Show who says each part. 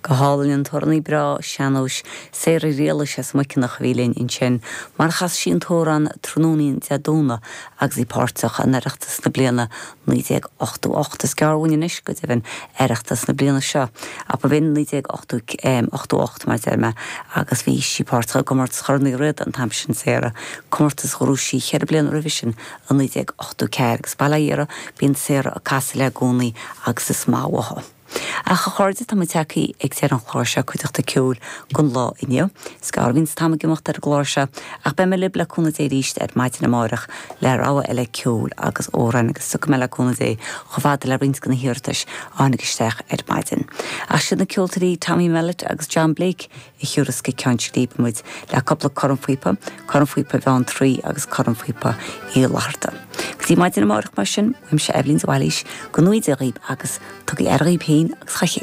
Speaker 1: Go hálainn an t-amhránaí breá sean-nóis Sarah Ghriallais as Muiceanach a bhí linn ansin mar a chas sí an t-amhrán tráthnóinín Dé Domhnaigh agus í páirteach in Oireachtas na bliana 1988. Is gearr uainn anois go deimhin Oireachtas na bliana seo ach ba bh'in 1988 mar a deir mé agus bhí sí páirteach i gcomórtas Chorn Uí Riada an t-am sin Sarah, comórtas a ghnóthaigh sí cheithre bliana roimhe sin i 1984 agus bail ó Dhia uirthi bíonn Sarah ag casadh léi i gcónaí agus is maith uaithi. Ach a chairde, tá muid tagtha ag deireadh an chláir seo, Cuideachta Ceoil don lá inniu. Is gearr a bhíonns an t-am ag imeacht ar an gclár seo, ach beidh mé libh le cúnamh Dé arís ar maidin amárach le rogha eile ceoil agus amhráin agus tiocfaidh mé le cúnamh Dé chomh fada le roinnt de na hiarratais a tháinig isteach ar maidin. Ach siad na ceoltóirí Tommy Mellett agus John Blake a thiúrfas go Ceann Scríbe muid le cúpla cornphíopa, cornphíopa Bheanntraí agus cornphíopa Uí Fhlatharta. Go dtí maidin amárach mar sin, uaimse Eibhlín de Bhailís, go ngnóthaí Dia dhaoib agus tugaigí aire dhaoib féin agus dhá chéile.